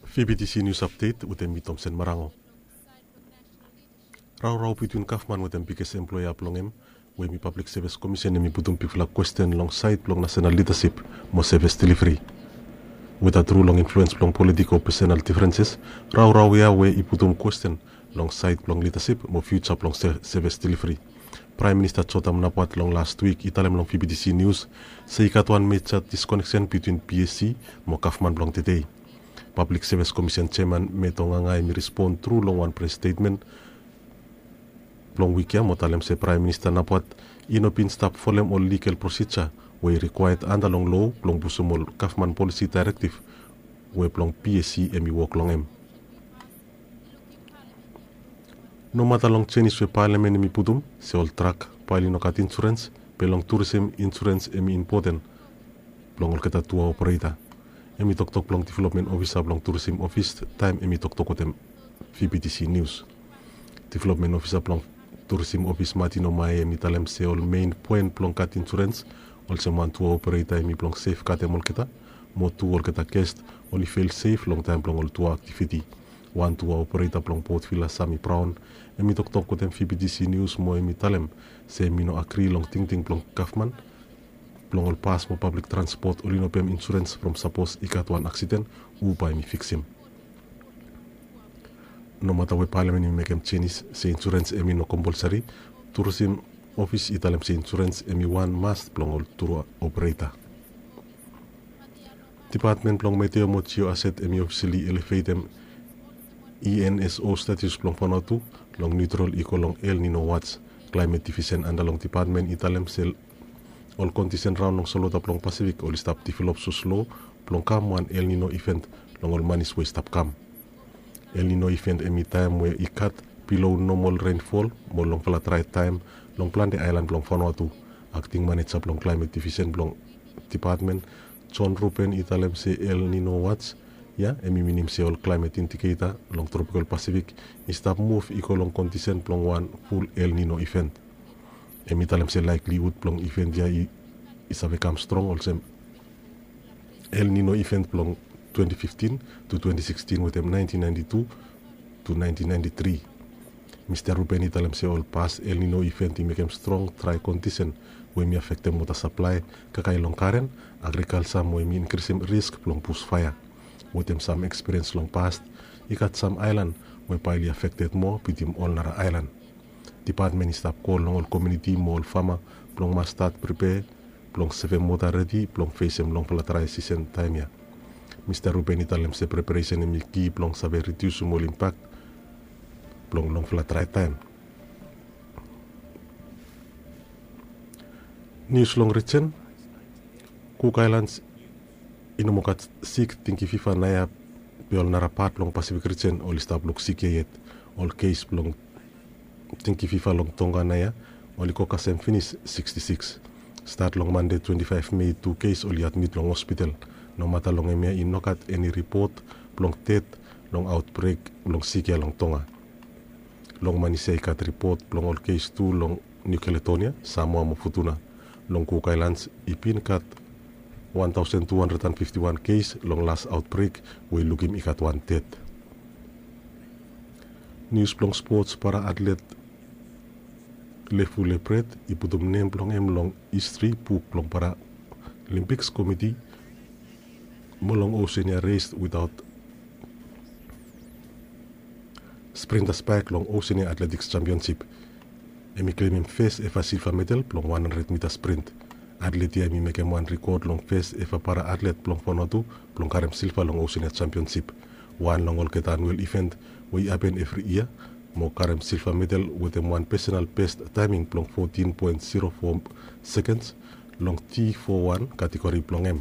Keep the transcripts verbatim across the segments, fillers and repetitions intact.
Fibitisi nius apdet wetem mi Tomsen Marango. Raorao bitwin gavman wetem biges emploea blong hem, we hemi Pablik Sevis Komisen, hemi putum bigfala kwesten long saed blong nasenal lidasip mo sevis delivri. Weda tru long influens blong politik o pesenal difrenses, raorao ya we i putum kwesten long saed blong lidasip mo fiuja blong sevis delivri. Praem Minista Jotham Napat long las wik i talem long Fibitisi nius se i gat wan meja diskoneksen bitwin P S C mo gavman blong tede. Pablik Sevis Komisen jeaman Meto Nganga hemi respon tru long wan pres stetmen blong wik ya mo talem se Praem Minista Napat i no bin stap folem ol ligal prosija we i rikwaea anda long loa blong pusum ol gavman polisi daerektiv we blong P S C hemi wok long hem. Nomata long jenis we palamen hemi putum se ol trak bae oli no gat insurens, be long turisim insurens hemi impoten blong olgeta tua opereta. Hemi toktok blong developmen ofisa blong turisim ofis taem hemi toktok wetem Fibitisi nius. Developmen ofisa blong turisim ofis Martin Omae hemi talem se ol mein poen blong gat insurens olsem wan tua opereta hemi blong sefgadem olgeta mo tu olgeta ges oli fil sef long taem blong ol tua aktiviti. Wan tua opereta blong Port Vila Sami Braon hemi toktok wetem Fibitisi nius mo hemi talem se hemi no agri long tingting blong gavman blong ol bas mo pablik transpot oli no pem insurens from sapos i gat wan aksiden, hu bae hemi fiksim. Nomata we palamen hemi mekem jenis se insurens hemi no kompolsari, turisim ofis i talem se insurens hemi wan mas blong ol tua opereta. Dipatmen blong Meteo mo Jioaset hemi ofisali elefetem E N S O status blong Vanuatu long niutral i go long El Nino wats. Klaemet divisen anda long dipatmen i talem se ol kondisen raon long solwota blong Pasifik oli stap develop soslo blong kam wan El Nino iven long ol manis we i stap kam. El Nino iven hemi taem we i gat bilo nomol renfol mo longfala drae taem long plante aelan blong Vanuatu. Akting maneja blong klaemet divisen blong dipatmen John Ruben i talem se El Nino wats ya hemi minim se ol klaemet indiketa long tropikal Pasifik i stap muv i go long kondisen blong wan ful El Nino iven. Hemi talem se laeklihud blong iven ya i save kam strong olsem El Nino iven blong twenti fiftin to twenti sikstin wetem naentin naenti tu to naentin naenti tri. Mista Ruben i talem se ol pas El Nino iven i mekem strong drae kondisen we hemi afektem wota saplae kakae long garen, agrikalja mo hemi inkrisim risk blong busfaea. Wetem sam ekspiriens long pas, i gat sam aelan we bae oli afekted moa bitim ol nara aelan. Dipatmen i stap kol long ol komuniti mo ol fama blong mas stat pripea blong sevem wota redi blong fesem longfala drae sisen taem ya. Mista Ruben i talem se preparesen hemi ki blong save ridiusim ol impak blong longfala drae taem. Nius long rijen. Kuk Aelans i no moa gat sik dengue fiva naoia, be ol nara pat blong Pasifik rijen oli stap luksik ia yet. Ol kes blong dengue fiva long Tonga naoia oli go kasem finis siksti siks. Stat long Mande twenti faef Mei, tu kes oli admit long hospital. Nomata long hemia i no gat eni ripot blong ded long aotbrek blong sik ia long Tonga. Long Manus ya i gat ripot blong ol kes tu long Niu Kaledonia, Samoa mo Futuna. Long Kuk Aelans i bin gat wan taosen tu handred an fifti wan kes long las aotbrek, we i lukim i gat wan ded. Nius blong spots. Para atlet Lefu Lepret i putum nem blong hem long histri buk blong Paralimpiks Komiti mo long Oceania Race without sprinta spaek long Oceania Athletiks Jampionsip. Hemi klemem fes eva silva medal blong wan handred mita sprint. Atlet ya hemi mekem wan rikod long fes eva para atlet blong Vanuatu blong karem silva long Oceania Jampionsip, wan long olgeta anuel iven we i hapen evri yia, mo karem silva medal wetem wan pesenal bes taeming blong fotin poen zero foa sekens long T foa wan kategori blong hem.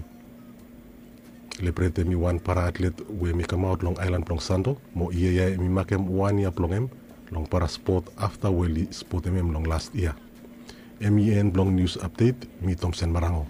Lepret hemi wan para atlet we hemi kamaot long aelan blong Santo, mo yia ya hemi makem wan yia blong hem long para spot afta we oli spotem hem long las yia. Hemi en blong nius apdet. Mi Tomsen Marango.